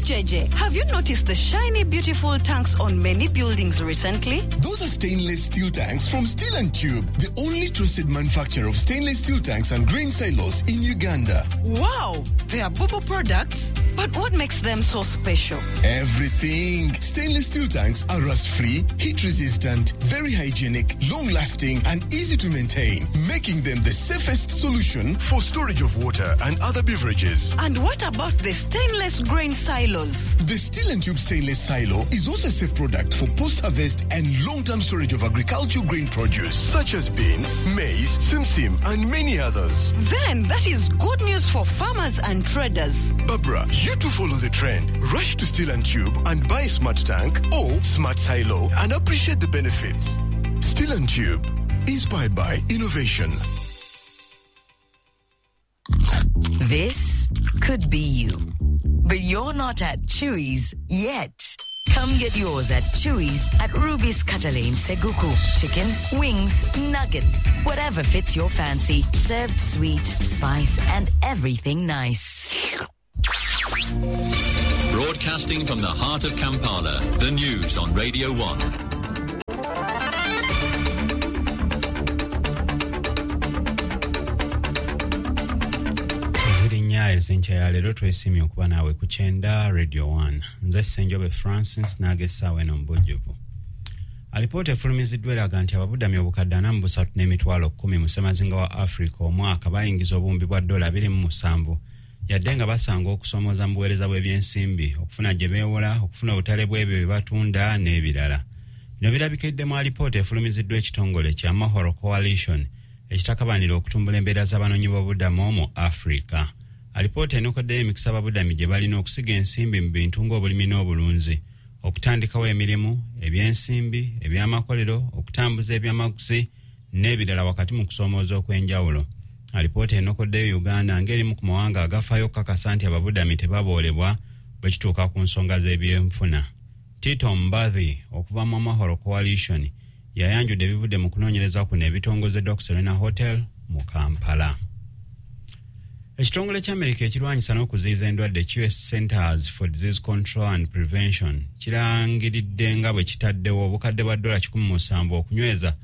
JJ, have you noticed the shiny, beautiful tanks on many buildings recently? Those are stainless steel tanks from Steel and Tube, the only trusted manufacturer of stainless steel tanks and grain silos in Uganda. Wow, they are Bubu products. But what makes them so special? Everything. Stainless steel tanks are rust-free, heat-resistant, very hygienic, long-lasting, and easy to maintain, making them the safest solution for storage of water and other beverages. And what about the stainless grain silos? The Steel and Tube stainless silo is also a safe product for post-harvest and long-term storage of agricultural grain produce such as beans, maize, simsim, and many others. Then that is good news for farmers and traders. Barbara, you too follow the trend. Rush to Steel and Tube and buy a smart tank or smart silo and appreciate the benefits. Steel and Tube, inspired by innovation. This could be you, but you're not at Chewy's yet. Come get yours at Chewy's at Ruby's Catalane Seguku. Chicken, wings, nuggets, whatever fits your fancy. Served sweet, spice, and everything nice. Broadcasting from the heart of Kampala, the news on Radio 1. Ziri 4 ez'enkya ya leero. Twesiimye okuba naawe ku kyenda Radio 1. Nze Ssenjobe Francis n'agessaawo eno mu bujjuvu. Alipoota efulumiziddwa eraga nti ababudami obukadde 43 n'emitwalo 10 mu ssemazinga wa Africa omwaka bayingiza obuwumbi bwa dola 27, yadde nga basanga okusoomooza mu buweereza bw'ebyensimbi, okufuna gye beewola, okufuna obutale bw'ebyo bye batunda n'ebirala. Bino birabikidde mu alipoota efulumiziddwa ekitongole kya Mahoro Coalition ekitakabanira okutumbula embeera z'abanoonyi b'obuddamu mu Africa. Alipoota enokoddeyo emikisa ababudami gye balina okusiga ensimbi mu bintu ng'obulimi n'obulunzi, okutandikawo emirimu, ebyensimbi, ebyamakolero, okutambuza ebyamaguzi n'ebirala wakati mu kusoomooza okw'enjawulo. Alipoota enokoddeyo Uganda ng'erimu ku mawanga agafaayo okukakasa nti ababudami tebaboolebwa bwe kituuka ku nsonga z'ebyenfuna. Tito Mbathi okuva mu Mahoro Coalition yayanjudde ebivudde mu kunoonyereza kuno ebitongozeddwa ku Serena Hotel mu Kampala. Ekitongole ky'Amerika ekirwanyisa n'okuziyiza endwadde, US Centers for Disease Control and Prevention, kirangiridde nga bwe kitaddewo obukadde bwa dola 107 okunyweza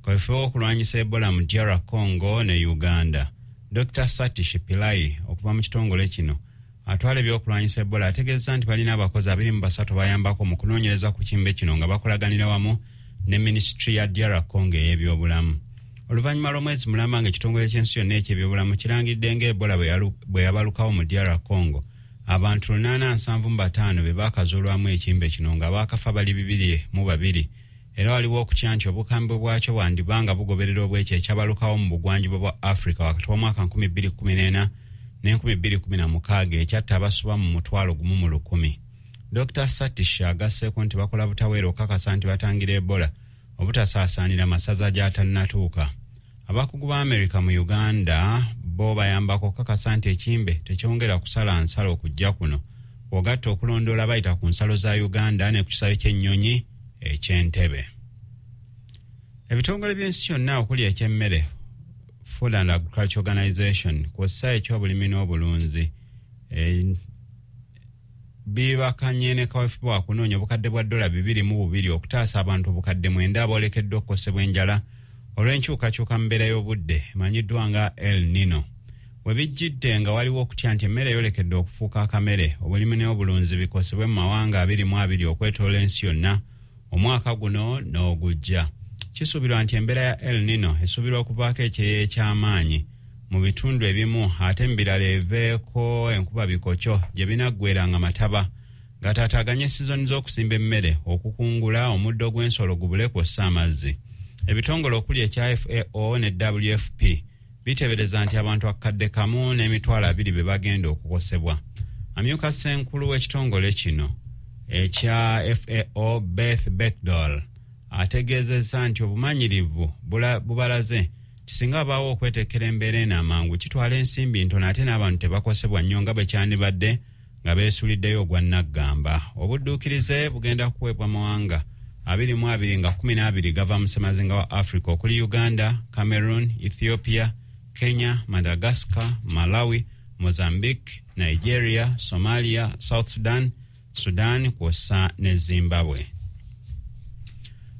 kaweefube w'okulwanyisa Ebola mu DR Congo ne Uganda. Dr Satish Pillai okuva mu kitongole kino atwala ebyokulwanyisa Ebola ategeeza nti balina abakozi 23 bayambako mu kunoonyereza ku kimbe kino nga bakolaganira wamu ne minisitule ya DR Congo ey'ebyobulamu. Oluvannyuma lw'omwezi mulamba ng'ekitongole ky'ensi yonna ekyebyobulamu kirangiridde nga Ebola bwe yabalukawo mu DR Congo, abantu 875 be baakazuulwamu ekimbe kino nga baakafa bali 202, era waliwo okutya nti obukambwe bwakyo bwandiba nga bugoberera obwekyo ekyabalukawo mu bugwanjuba bwa Africa wakati w'omwaka 2014 ne 2016 ekyatta abasoba mu 1,000. Dr Satish agasseeko nti bakola butaweera okukakasa nti batangira Ebola obutasaasaanira masaza gy'atannatuuka. Abakugu ba Amerika mu Uganda bo bayambako okukakasa nti ekimbe tekyongera kusala nsalo okujja kuno, ogatta okulondoola bayita ku nsalo za Uganda ne ku kisaawe ky'ennyonyi eky'Entebbe. Ebitongole by'ensi yonna okuli eky'emmere, Food and Agriculture Organization, kw'ossa eky'obulimi n'obulunzi, bibakanye ne kaweefube wa kunoonya obukadde bwa dola 22 okutaasa abantu obukadde 9 aboolekeddwa okukosebwa enjala olw'enkyukakyuka mu mbeera y'obudde emanyiddwa nga El Nino. We bijjidde nga waliwo okutya nti emmere eyolekedde okufuuka akamere, obulimi n'obulunzi bikosebwe mu mawanga 22 okwetoola ensi yonna omwaka guno n'ogujja. Kisuubirwa nti embeera ya El Nino esuubirwa okuvaako ekyeya eky'amaanyi mu bitundu ebimu, ate mu birala eveeko enkuba bikokyo gye binaggweranga mataba gataataaganye sizoni z'okusimba emmere, okukungula, omuddo gw'ensolo gubule kw'ossa amazzi. Ebitongole okuli ekya FAO ne WFP biteebereza nti abantu 1,200,000 be bagenda okukosebwa. Amyuka ssenkulu w'ekitongole kino ekya FAO, Beth Bechdol, ategeezezza nti obumanyirivu bubalaze kisinga abaawo okwetekera embeera eno amangu kitwala ensimbi ntono ate n'abantu tebakosebwa nnyo nga bwe kyandibadde nga beesuliddeyo ogwa nnaggamba. Obudduukirize bugenda kuweebwa mawanga 22 nga 12 gava mu ssemazinga wa Africa okuli Uganda, Cameroon, Ethiopia, Kenya, Madagascar, Malawi, Mozambique, Nigeria, Somalia, South Sudan Sudan kw'ossa ne Zimbabwe.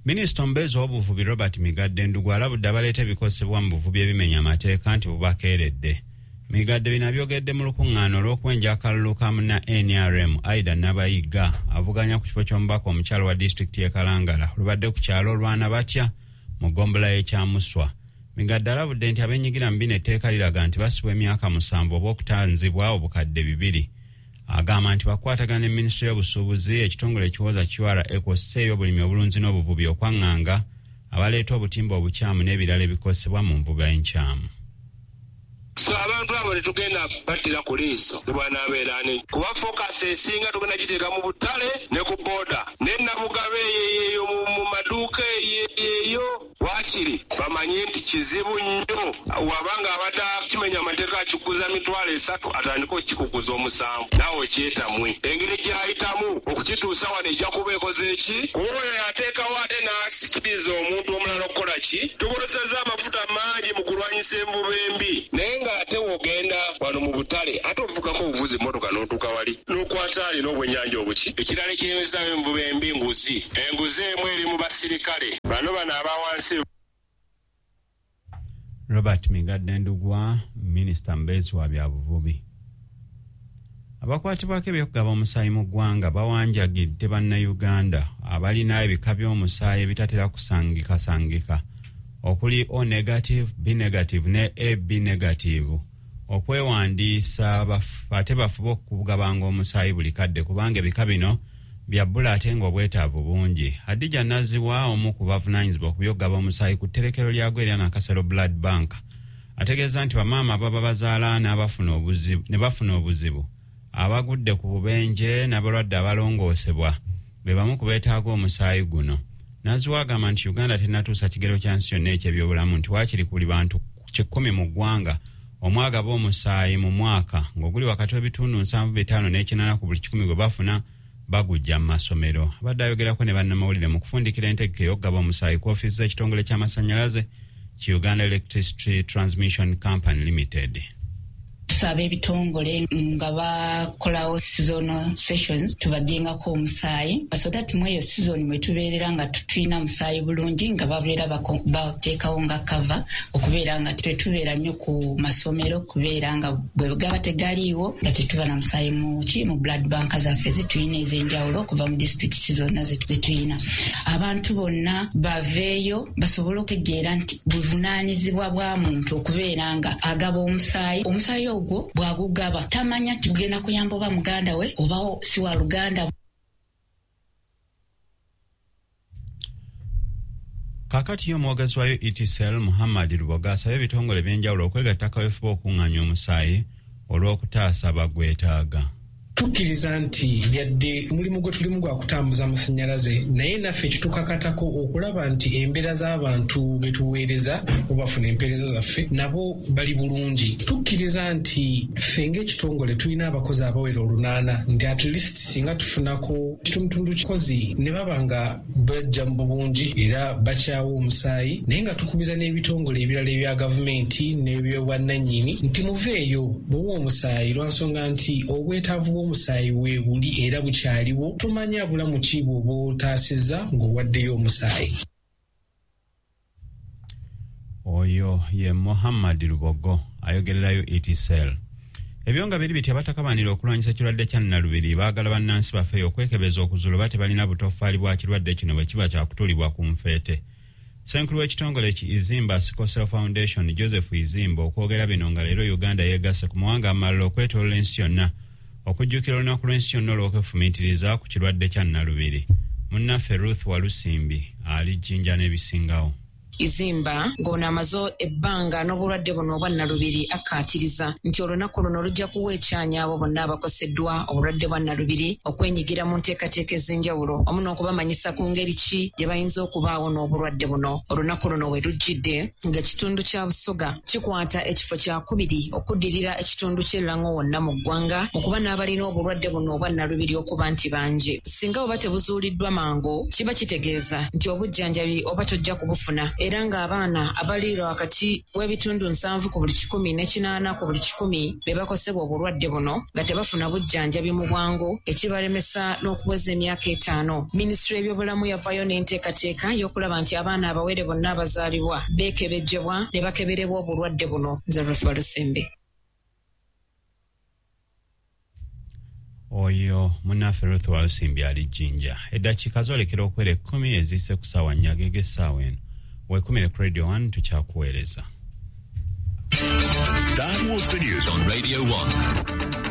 Minisita omubeezi w'obuvubi Robert Migadde Ndugu alabudde abaleeta ebikozesebwa mu buvubi ebimenya amateeka nti bubakeeredde. Migadde bino abyogedde mu lukuŋŋaana olw'okwenja akalulu ka munna NRM Aida Nabayiga avuganya ku kifo ky'omubaka omukyalo wa disitulikiti y'e Kalangala olubadde ku kyalo olwana batya mu ggombolola y'Ekyamuswa. Migadde alabudde nti abeenyigira mu bino etteeka liraga nti basibwa emyaka 7 oba okutanzibwa obukadde 2. Agamba nti bakwatagana ne minisitule y'obusuubuzi, ekitongole ekiwoza QRA kw'ossa ebyobulimi, obulunzi n'obuvubi okwaŋŋanga abaleeta obutimba obukyamu n'ebirala ebikozesebwa mu nvuba enkyamu. So abantu abo tetugenda battira ku liiso ne bw'anaabeera ani, kuba focus esinga tugenda giteeka mu butale ne ku booda ne Nabugabe eyo mu maduuka eyo, waakiri bamanye nti kizibu nnyo wabanga abadde akimenya amateeka akikuguza 300,000 atandike okukikuguza 7 naawe okyetamwe. Engeri gy'ayitamu okukituusa wano ejja kuba ekoze ki? Kuba oyo yateekawo ate n'asikiriza omuntu omulala okukola ki? Tukozesezza amafuta mangi mu kulwanyisa envuba embi, naye ate wogenda wano mu butale ate ovugako obuvuzi mmotoka n'otuuka wali n'okwata alina obwennyanja obuki. Ekirala ekiyimirizaawo envuba embi nguzi. Enguzi emu eri mu basirikale bano aba wansi. Robert Migadde Ndugwa, minisita mubeezi wa byabuvubi. Abakwatibwako ebyokugaba omusaayi mu ggwanga bawanjagidde bannayuganda abalina ebika by'omusaayi ebitatera kusangikasangika okuli O negative, B negative ne AB negative okwewandiisa ate bafube okugabanga omusaayi buli kadde kubanga ebika bino bya bbula ate ng'obwetaavu bungi. Hadija Naziwa omu ku bavunaanyizibwa ku by'okugaba omusaayi ku tterekero lyagwo erya Nakasero Blood Bank ategeeza nti bamaama ababa bazaala ne bafuna obuzibu abagudde ku bubenje n'abalwadde abalongoosebwa be bamu ku beetaaga omusaayi guno. Naziwa agamba nti Uganda tennatuusa kigero kya nsi yonna eky'ebyobulamu nti waakiri ku buli bantu 10 mu ggwanga omwagaba omusaayi mu mwaka ng'oguli wakati w'ebitundu 75 n'ekinana ku buli 100 gwe bafuna bagujja mu masomero. Abadde ayogerako ne bannamawulire mu kufundikira entegeka ey'okugaba omusaayi ku ofiisi z'ekitongole ky'amasannyalaze ki Uganda Electricity Transmission Company Limited. Tusaba ebitongole nga bakolawo seasonal sessions tubajjengako omusaayi so that mu eyo season mwe tubeerera nga tulina musaayi bulungi nga babeera bateekawo nga cover okubeera nga tetubeera nnyo ku masomero kubeera nga bwe gaba tegaliiwo nga tetuba na musaayi mu blood bank zaffe zetulina ez'enjawulo okuva mu disitulikiti zonna zetulina. Abantu bonna baveeyo basobole okutegeera nti buvunaanyizibwa bwa muntu okubeera nga agaba omusaayi. Omusaayi ogwo bw'agugaba tamanya nti gugenda kuyamba oba muganda we oba si wa luganda. Kaakati ye omwogezi wa UETCL Muhammad Luboga asabye ebitongole ebyenjawulo okwegatta kaweefube okuŋŋaanya omusaayi olw'okutaasa abagwetaaga. Tukkiriza nti yadde mulimu gwe tulimu gwa kutambuza amasannyalaze, naye naffe kitukakatako okulaba nti embeera z'abantu be tuweereza obafuna empeereza zaffe nabo bali bulungi. Tukkiriza nti ffe ng'ekitongole tulina abakozi abawera 8 nti at least singa tufunako kitundutundu kikozi ne baba nga bajja mu bulungi era bakyawa omusaayi, naye nga tukubiza n'ebitongole ebirala ebya gavumenti n'ebyobwannannyini nti muveeyo muwe omusaayi lwa nsonga nti obwetaavu omusaayi weebuli era bukyaliwo, tomanya bulamu ki bw'oba otaasizza ng'owaddeyo omusaayi. Oyo ye Muhammad Lubogo ayogererayo ETCL. Ebyo nga biri biti abatakabanira okulwanyisa ekirwadde kya Nnalubiri baagala bannansi baffe okwekebeza okuzuula oba tebalina butoffaali bwa kirwadde kino bwe kiba kyakutuulibwa ku nfeete. Ssenkulu w'ekitongole ki Izimba Sickle Cell Foundation Joseph Izimba okwogera bino nga leero Uganda yeegasse ku mawanga amalala okwetooloola ensi yonna okujjukira olunaku lw'ensi yonna olw'okwefumiitiriza ku kirwadde kya Nnalubiri. Munnaffe Ruth Walusimbi ali Jjinja n'ebisingawo. Izimba ng'ono amaze ebbanga n'obulwadde buno obwa Nnalubiri akkaatiriza nti olunaku luno lujja kuwa ekyanya abo bonna abakoseddwa obulwadde bwa Nnalubiri okwenyigira mu nteekateeka ez'enjawulo wamu n'okubamanyisa ku ngeri ki gye bayinza okubaawo n'obulwadde buno. Olunaku luno we lujjidde ng'ekitundu kya Busoga kikwata ekifo kyakubiri okuddirira ekitundu ky'e Lango wonna mu ggwanga mu kuba n'abalina obulwadde buno obwa Nnalubiri okuba nti bangi. Singa oba tebuzuuliddwa mangu kiba kitegeeza nti obujjanjabi oba tojja kubufuna. era ng'abaana abaliirwa wakati w'ebitundu 70 ku buli 100 ne 80 ku buli 100 be bakosebwa obulwadde buno nga tebafuna bujjanjabi mu bwangu, ekibalemesa n'okuweza emyaka 5. Minisitule y'ebyobulamu yavaayo n'enteekateeka y'okulaba nti abaana abawere bonna abazaalibwa beekebejjebwa ne bakeberebwa obulwadde buno. Nze Ruth Walusimbi. Oyo munnaffe Ruth Walusimbi ali Jjinja. Eddakiika zoolekera okwera 10 eziyise ku ssaawa 4 ag'essaawa eno. Weekumire ku Radio 1, tukyakuweereza. That was the news on Radio 1.